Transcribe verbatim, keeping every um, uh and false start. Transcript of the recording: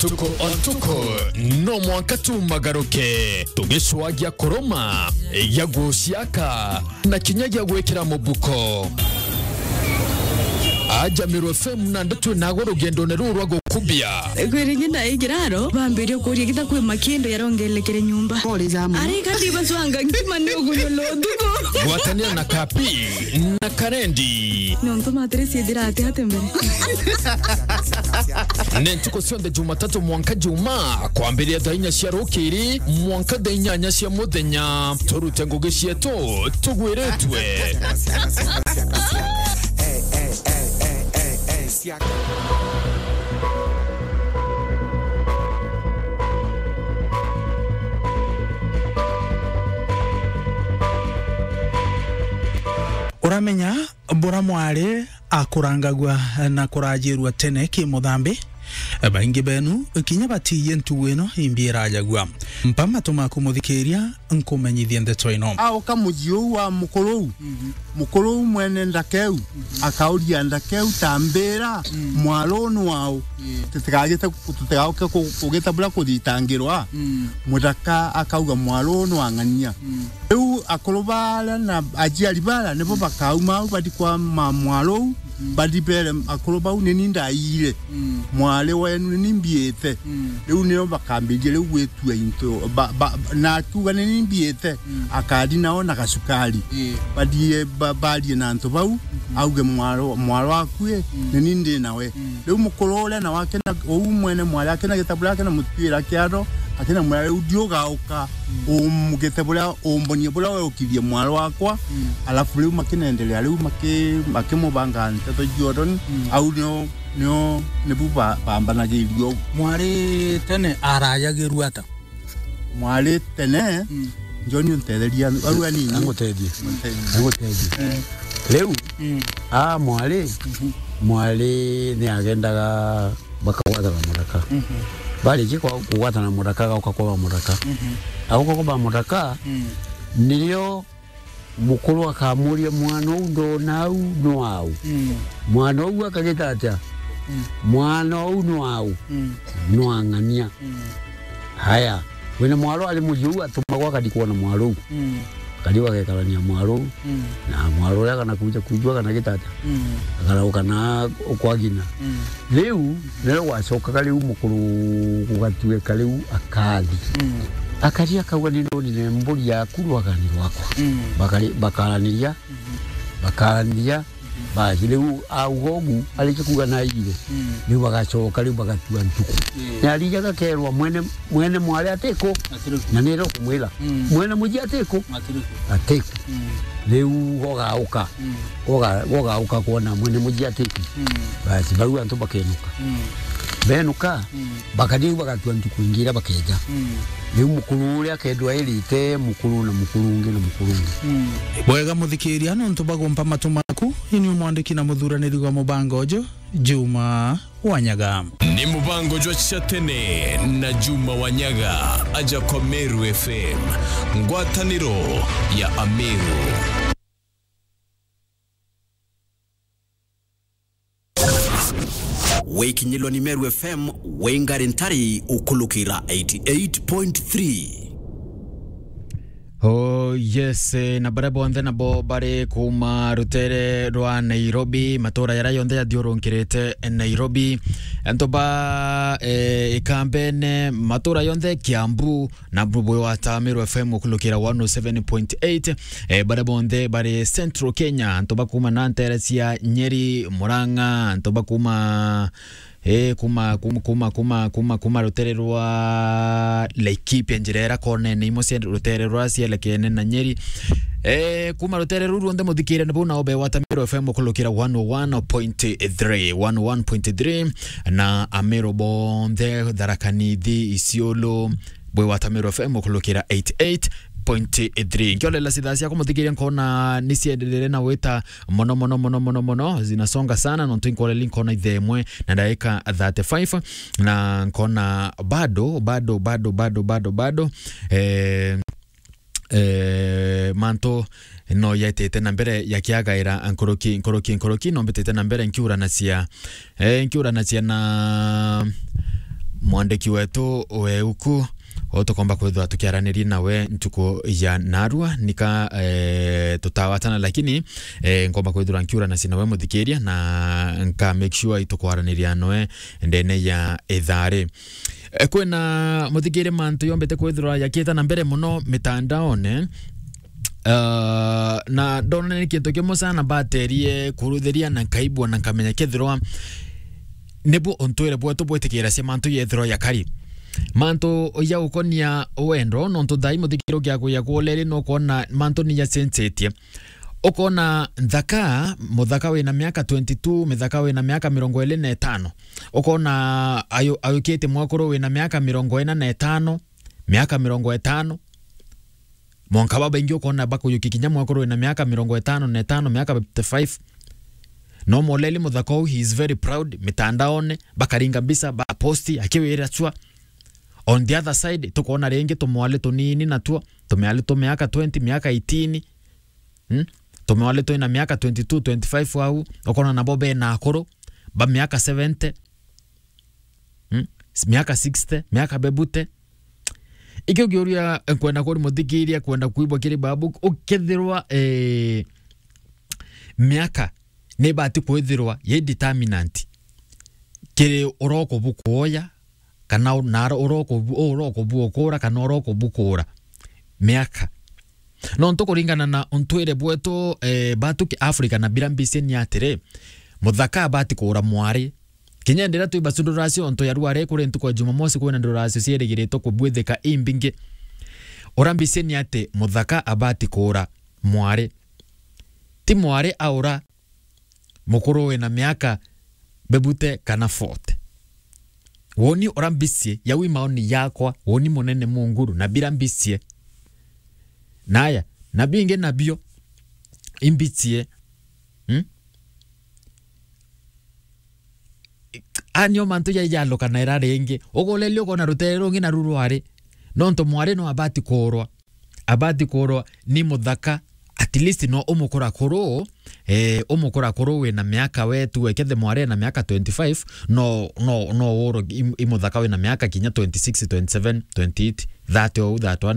Tuko o tuko, no mwanka tumagaruke, tugicwagia kuruma, gia guciaka, na kinya gia gwikira mubuko. Aja Meru F M na ndeto nago rugendone ruu rwa gukubia. Kwiri ngi ndaikiraro, bambirie kuria gita kwi makindo yarongelekere nyumba. Pole za muno. Ari kati bacwanga ngima ni ugunyulo ndugu. Gwatanira na Kapi na Karendi. Nontu matire ciithira ati ati mbere. Ni ntuku cionthe Jumatatu mwanka Juma, kwambiria thaa inya cia rukiri mwanka thaa inyanya cia muthenya. Turute ngugi cietu tugwiritue. Uramenya bura mwari akurangagua na kurajirua tene ki muthambi, baingi benu kinya batiie ntugu ino imbi irajagua. Mpa matu maku muthikiria, nkumenyithie ndeto ino. Auka muji uu wa mukuru uu, mukuru uu mwene ndaka iu, akauria ndaka iu, tambira, mwaro uu ni wau? Tutigagite, tutigauke ku-, kugita buria kuthitangirwa. Muthaka akauga, mwaro uu ni wa ng'ania. Riu akuru baria na aciari baria nibo bakauma au bathi kwa ma-, mwaro uu, bathi bere akuru bau, ni ni ndaire mwari wenu, ni ni mbiite. Riu nio bakambiria riu gwitua into, ba-, ba-, na akiuga, ni ni mbiite, akathi nao na gacukari. Bathie ba-, barie na antu bau, auge, mwaro, mwaro akui, ni ni ndi nawe. Riu mukuru uria nawe akina, uu mwene mwari akina gita buria akina mutwira kiatho, akina mwira, riu ndi ugauka, umugite buria, umbonie buria weukithie mwari wakwa. Alafu riu makinendelea, riu maki-, makimubanga nteto cionthe, au nio, nio, nibu ba-, bambanagiirie uu. Mwari tene arajagirua ata? Mwari tene, John, untetheria au anini. Angutethie. Untetherie. Angutethie. Riu, a mwari, mwari ni agendaga bakagwatana muthaka. Barikia kwa-, kugwatana muthaka, agauka kwa ba muthaka. Agauka kwa ba muthaka, nirio mukuru akamuria, mwana uu ndona au ni wau? Mwana uu akagita atia? Mwana uu ni wau? Ni wa ng'ania. Haya, wina mwaro ari muji uu atumagwa akathi kwona mwaro uu. Akathi bagekarania mwaro uu. Na mwaro uria kana kuja kujua kana gita atia. Akarauka na kwa ng'ina. Riu, nirio gwacokaga riu mukuru gugatuika riu akathi. Akathi akauga, ni ndonire mburi yaku rwagani rwakwa. Bakari-, bakaraniria, bakaraniria, basi riu auga ugu, arikia kuuga naire, riu bagacoka riu bagatua ntuku. Na arijaga kerwa mwene, mwene mwari atiku, na nire ukumwira, mwene muji atiku, atiku. Riu gogauka. Goga-, gogauka kwona mwene muji atiku. Basi bau antu bakenuka. Benuka, bakathi bagatua ntuku ingi iria bakeja. Riu mukuru uria akethirwa airite mukuru na mukuru ungi na mukuru ungi. Bwega muthikiria, nontu bagumpa matu maku, ini umwandiki na muthuraniri wa mubango uju, Juma Wanyaga. Ni mubango jwa cia tene na Juma Wanyaga, aja kwa Meru F M, ngwataniro ya Ameru. Wikinyilwa ni Meru F M, wingari ntari ukulukira eighty eight point three. Oh yes, eh, na baria bonthe nabo bari kuma rutere rwa Nairobi, matura jaria jonthe jathiurunkirite Nairobi, antu ba, eh, Ikambene, matura jonthe, Kiambu, na bwi wata Meru F M ukulukira one oh seven point eight, eh, baria bonthe bari Central Kenya, antu ba kuma na ntere cia Nyeri, Murang'a, antu ba kuma, eh, kuma, kuma, kuma rutere rwa Laikipia, njira iria konene imwe cia rutere rwa cielekene na Nyeri. Eh, kuma rutere ruu ruonthe muthikire ni bau nao bewata Meru F M ukulukira one oh one point three, one oh one point three, na Ameru bonthe, Tharaka Nithi, Isiolo, bwi wata Meru F M ukulukira eighty eight point three. Nkiolela cithaa ciakwa muthikiria, nkona ni cienderere na wita mono, mono, mono, mono, mono, zinasonga sana, nontu inkwoleli nkona ithaa imwe na ndagika thirty-five, na nkona bado, bado, bado, eh, eh, mantu no yaitite na mbere yakiagaira nkuruki, nkuruki, nkuruki, no mbitite na mbere nkiuranacia, eh, nkiuranacia na mwandiki wetu we uku, o tukomba kwithirwa tukiaraniria nawe ntuku ya narua, nika, eh, tutawatana, lakini, eh, nkomba kwithirwa nkiura na sina we muthikiria, na nka make sure itukwaraniria noe ndene ya ithari. Eh, kwina muthikiria mantu yombete kwithirwa yakieta na mbere muno mitandaone. Uh, na ndonene kintu kimwe sana mbaterie kuruthiria na nkaibua na nkamenya kethirwa nibu untwire bwetu bwitikira cia mantu yethirwa yakari. Mantu ya gukonia wendo, nontu thai muthikiro gia kuya kuoleri no kuona mantu ni yacenjetie. Ukona nthaka, muthaka wina miaka twenty-two, mithaka wina miaka mirongo iri na itano. Ukona ayu-, ayukite mwakuru wina miaka mirongo ina na itano, miaka mirongo itano. Mwanka babaingi ukona bakuyukia kinya mwakuru wina miaka mirongo itano na itano, miaka fifty-five. No moleli muthaka uu, he is very proud, mitandaone, bakaringa mbica, baposti, akiwira chwa. On the other side, tukona ringi tumwali tunini natuo, tumiali tu miaka twenty, miaka eighteen. Hmm? Tumiali twina miaka twenty-two, twenty-five au, ukona nabo bena akuru, ba miaka seventy. Hmm? Miaka sixty, miaka bebute. Ikio kiuria nkwenda kuri muthikiria, kwenda kuibwa kiri babu, ukethirwa, eh, miaka ni ibati kwithirwa ye determinant kiri uroko bukuoya, kana u-, na uroko bu-, uroko buokura, kana uroko bukura. Miaka. Nontu kuringana na untwire bwetu, eh, batu ki Africa na bira mbisi ni atiri, muthaka abati kuura mwari. Kinya ndira twi basu nduracio, onto ya ruare kuri ntuku ya Jumamosi, kwina nduracio cierigiritwe kubwithika imbingi. Ura mbisi ni ati muthaka abati kuura mwari. Ti mwari aura mukuru wina miaka bebute kana forty. Woni ura mbicie, yau i maoni yakwa, woni munene munguru, na bira mbicie. Naya, na bingi nabio, imbicie. Hmm? Anio mantu jai jalukana ira ringi. Uguleli ukona rutere rungi na ru rwari. Nontu mwari no abati kuurwa. Abati kuurwa ni muthaka, at least no umukura kuru, eh, umukura kuru wina miaka we tu, wekethe mwari na miaka twenty-five, no, no, no uro i, i muthaka wina miaka kinya twenty-six, twenty-seven, twenty-eight, thirty ou, thirty-one,